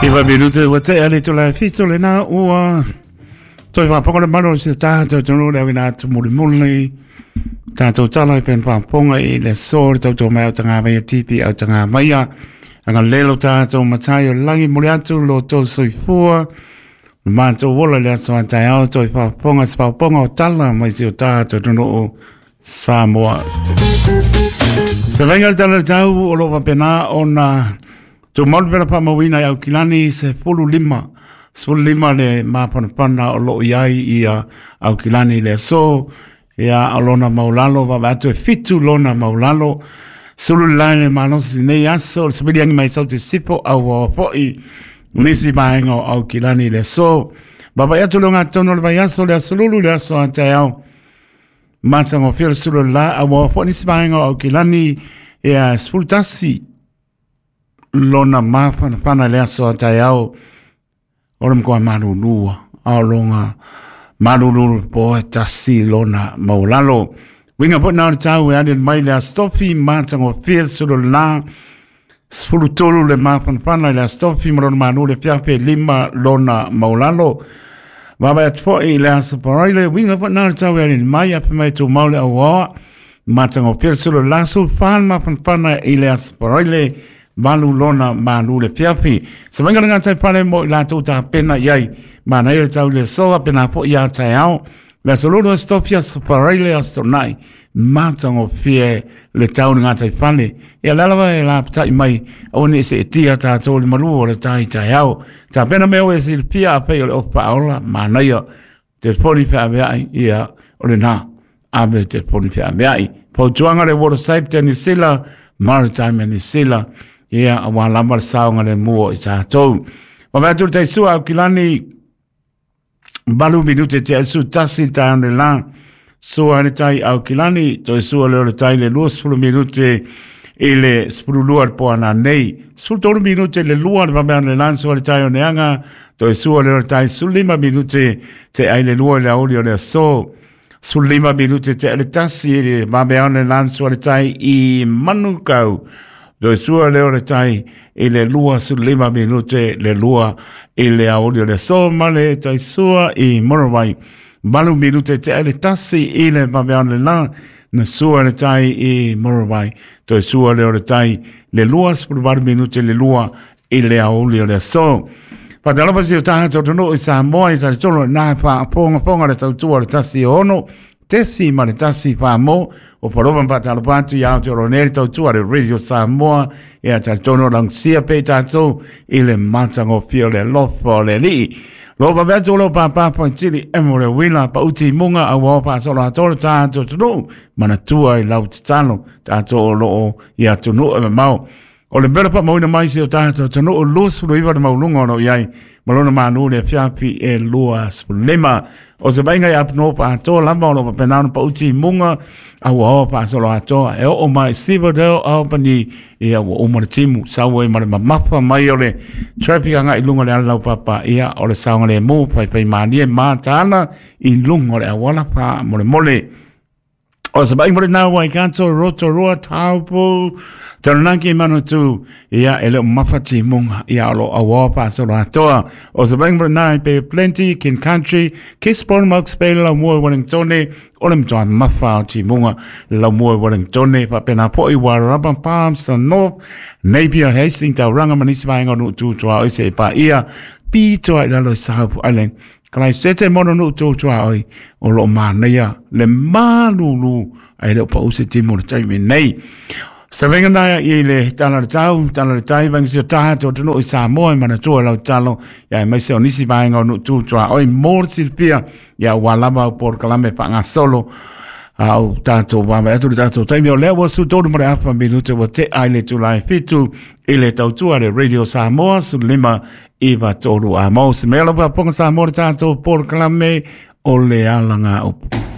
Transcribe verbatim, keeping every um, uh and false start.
Iwa minute ua te ale tō lai fito le nā ua toi whāponga le malo se tātou tonu le awina atu muli muli tātou tala i pen whāponga i le sō le tautou mai au tanga maia tipi au tanga maia anga lelo tātou matai o langi muli atu lo tō soifua mātou wola le aso a tai au toi whāponga se whāponga o tala mai si o tātou tonu o Samoa. Se venga le tala le tau o lo wapena o na tō maunu pera pa mawina i Aukilani se pulu lima. Se pulu lima le māpanapana o loo iai ia Aukilani le aso. Ia alona maulalo, wawa atu e fitu lona maulalo. Sulu lai le malosi nei aso, le sabili angi mai sau te sipo au wawapoi. Nisi maenga o Aukilani le aso. Baba i atu le ngā tono le vai aso le aso lulu le aso a te au. Mātanga o whio le sulu la au wawapoi nisi maenga o Aukilani. Ia spultasi. Lona māwhana le aso a tai au o le mkoa malulua au longa malululu po e tasi lona maulalo winga po nā tau e ane mai le astofi mātango pia sulu la sfulu tolu le māwhana le astofi malona manu le piape lima lona maulalo Baba atu po i le asa paraile winga po nā tau e ane mai ape mai tō maule au oa mātango pia sulu la sulfan māwhana i le asa paraile malu lona malu le piapi. Se venga ngā tai pale mo i la tō tā pena iai. Mana ia tau le soa pena po ia tai ao. Le sololo stopia saparaile astonai. Mātango fie le tau ngā tai pale. Ia lalawa e la patai mai o ni se tia tātou le malu o le tai tai ao. Tā pena meo e silpia a pei o le opa aola. Mana ia te poni pea meai ia o le nā. Ame te poni pea meai. Pautuanga le water safe te nisila. Maritime nisila. Ia a wā lama le saonga le mua i tātou. Ma mea tū te sua au kilani balu minute te asu tasi tāne la sua le tai au kilani toi sua leo le tai le lua sfulu minute i le sfulu lua le poana nei. Sfulu tolu minute le lua le mamea le lan sua le tai o neanga toi sua leo le tai sulima minute te ai le lua le aoli o le aso. Sulima minute te le tasi le mamea le lan sua le tai i Manukau. Toi sua leo le tai i le lua sulima minute le lua i le aoli o le aso ma le tai sua i Morawai. Malu minute te le tasi i le mamea le la na sua le tai i Morawai. Toi sua leo le tai le lua sulu minute le lua i le aoli o le aso. Patalapa si o taha tō i Samoa i tari tolo nā pā ponga ponga le tautua le tasi o ono. Tesi ma le tasi pā mō. O parova patalapa atu i Aotearoa nei le tautua le Radio Samoa. Ia tari tono langsia pe tātou i le matango pio le lofa o le lii. Lo pa mea lo pa pa pa tili e mo le wila pa uti munga a wao pa solo atoro tātou tunu. Mana tua i lau titalo tātou o loo i atunu e mamau. O le mera pa mauina mai se o tātou tanu o lua sfulu iwa le maulunga o no iai. Malona manu le fiapi e lua sfulu lima. O se vainga i apno pa atoa lama o lo pa penano pa uti munga a ua pa solo atoa. E o mai siwa reo au pani ia ua uma le timu. Sau e mare mamapa mai o le traffic anga i lunga le alau papa ia o le saunga le mū pai pai manie mātāna i lunga o le awala pa mole mole. O se vainga mo le nā Waikato Rotorua Taupo Taranaki Manutu ia e leo mawhati munga ia alo awa pa solo atoa. O se vainga mo le nā i Bay Plenty, King Country, Gisborne Mokes Bay, la mua Wellingtone, o le mtoa mawha o ti munga la mua Wellingtone, pa pena po i Warraba Palms, the North, Napier Hastings, Tauranga manisi vainga nu tūtua o se pa ia, pitoa i lalo i Sahapu Island. Kalai te mono nu tūtua oi o lo mānaia le malulu ai leo pa use timo le taimi nei. Se venga nai i le tala le tau, tala le tai, venga si o taha tō tunu i Samoa i manatua lau talo, ia e maise o nisi vaenga o nu tūtua oi mōr silpia, ia wā lama o por kalame pa ngā solo, au tātou wā atu le tātou taimi o lea wa su tōru mare apa minute wa te ai le tūlai fitu i le tautua le Radio Samoa su lima iwa tōru a mau. Se mea lapa ponga Samoa le tātou por kalame o le alanga upu.